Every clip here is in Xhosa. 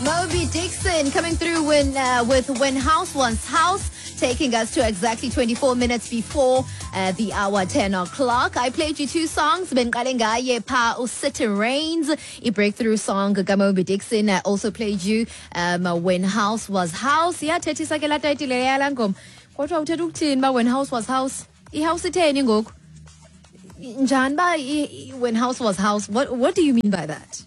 Mobi Dixon coming through when with When House Was House, taking us to exactly 24 minutes before the hour 10 o'clock. I played you two songs, bendiqale ngaye pha uCity Rains, i-breakthrough song kaMobi Dixon. I also played you When House Was House. Iyathethisa ke laa tayitile yalaa ngoma. Kodwa uthetha ukuthini uba When House Was House? I-house itheni ngoku? Njani uba When House Was House? What do you mean by that?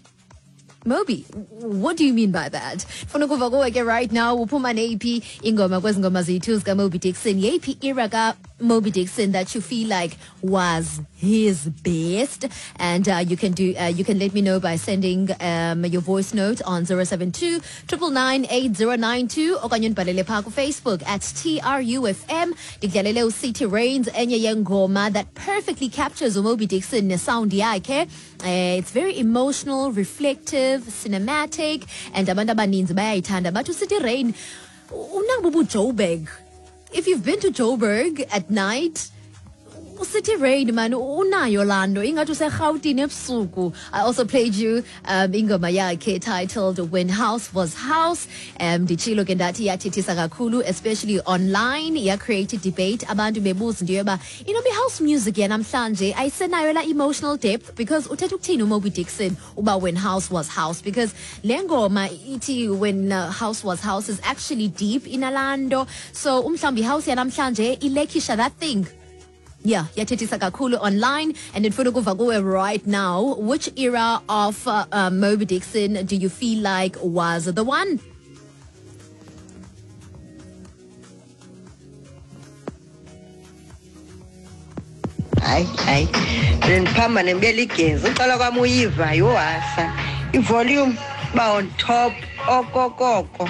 Mobi, what do you mean by that? Funa ukuva kuwe ke right now, uphuma neyiphi ingoma kwezi ngoma ziyi-two zikaMobi Dixon? Yeyiphi era kaMobi Dixon that you feel like was his best? And you can let me know by sending your voice note on 072 999 8092 okanye undibhalele phaa kuFacebook at TRUFM. Ndikudlalele uCity Rains, enye yengoma that perfectly captures uMobi Dixon nesound yakhe. It's very emotional, reflective, cinematic, and abantu abaninzi bayayithanda. Bathi uCity Rain unabo ubuJoburg. If you've been to Joburg at night, uCity Rain man unayo laa nto ingathi useRhawutini ebusuku. I also played you ingoma yakhe titled When House Was House. Nditshilo ke ndathi iyathethisa kakhulu, especially online, iyacreate debate, abantu bebuza into yoba inoba i-house music yanamhlanje ayisenayo la emotional depth, because uthetha ukuthini uMobi Dixon uba When House Was House? Because le ngoma ithi When House Was House is actually deep inalaa nto, so umhlawumbi i-house yanamhlanje ilackisha that thing. Yeah, yathethisa kakhulu online, and ndifuna ukuva kuwe right now, which era of Mobi Dixon do you feel like was the one? Hayi hayi, bendiphamba nembela igezi uqala kwam uyiva yohasa ivolume uba on top okokoko.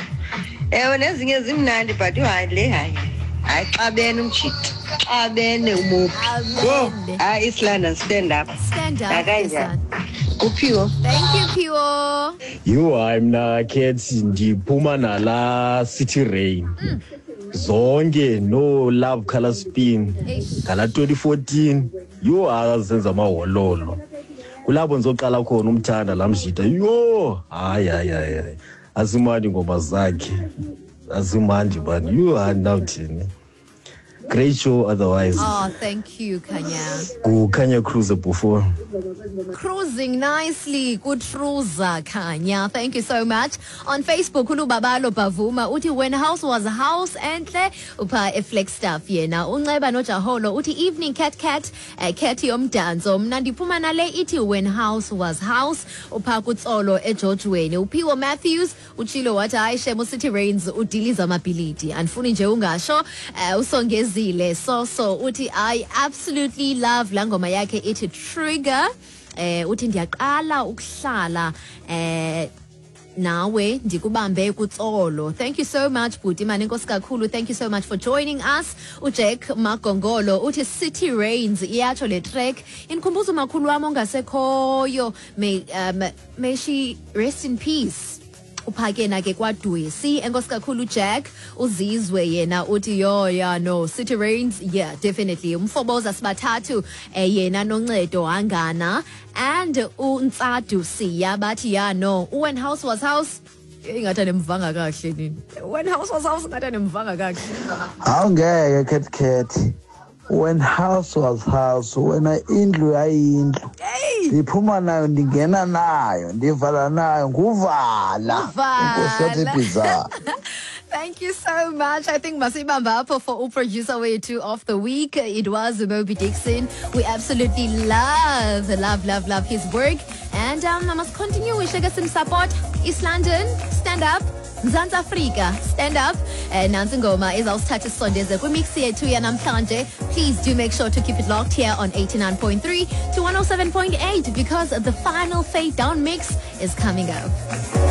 Ewe, nezinye zimnandi, but yho, hayi le, hayi hayi, xabene umjita, xabene uMobi. Yho, hayi, East London, stand up. Stand up. Nakanjani uphiwo. Thank you, Phiwo. Yho, hayi, mna Cat ndiphuma nala City Rain zonke, no Love Color Spin ngala 2014. Yho, azenza amahololo, kulapho ndizoqala khona umthanda laa mjita. Yho, hayi hayi hayi hayi, azimandi ingoma zakhe, azimandi bani. Yho, hayi, ndawuthini, great show otherwise. Oh, thank you, Khanya. Kukhanya Cruiser before. Cruising nicely, kutruza Khanya. Thank you so much. On Facebook, uLubabalo Bavuma uthi When House Was House enhle, upha eFlagstaff yena. Unceba noJaholo uthi evening Cat Cat, Cat yomdanso. Mna ndiphuma nale ithi When House Was House, upha kuTsolo eGeorgeweni. Uphiwo Matthews utshilo wathi hayi shem, uCity Rains udiliza amabhilidi. Andifuni nje ungasho. Usongezile Soso uthi I absolutely love la ngoma yakhe ithi Trigger. Uthi ndiyaqala ukuhlala nawe ndikubambe kuTsolo. Thank you so much, bhuti mani, enkosi kakhulu. Thank you so much for joining us. UJack Magongolo uthi City Rains iyatsho le track, indikhumbuza umakhulu wam ongasekhoyo. May she rest in peace. Uphake na ke kwadwesi. Enkosi kakhulu, Jack. Uzizwe yena uthi yo, yeah, no, City Rains, yeah, definitely. Umfoboza sibathathu, yena noncedo hangana and untsadu siya bathi yeah, no, When House Was House. Ingathi anemvanga kakuhle nini When House Was House, ingathi anemvanga kakuhle. Hawu, ngeke Cat Cat, When House Was House, wena indlu yayindlu, ndiphuma nayo, ndingena nayo, ndivala nayo, nguvala. Uvala. Inkosi yathi bhiza. Thank you so much. I think masibamba apho for producer wethu of the week. It was Mobi Dixon. We absolutely love, love, love, love his work. And I must continue with some support. East London, stand up. Mzantsi Afrika, stand up. Nantsi ingoma izawusithatha isondeze kwimix yethu yanamhlanje. Please do make sure to keep it locked here on 89.3 to 107.8 because the final fade down mix is coming up.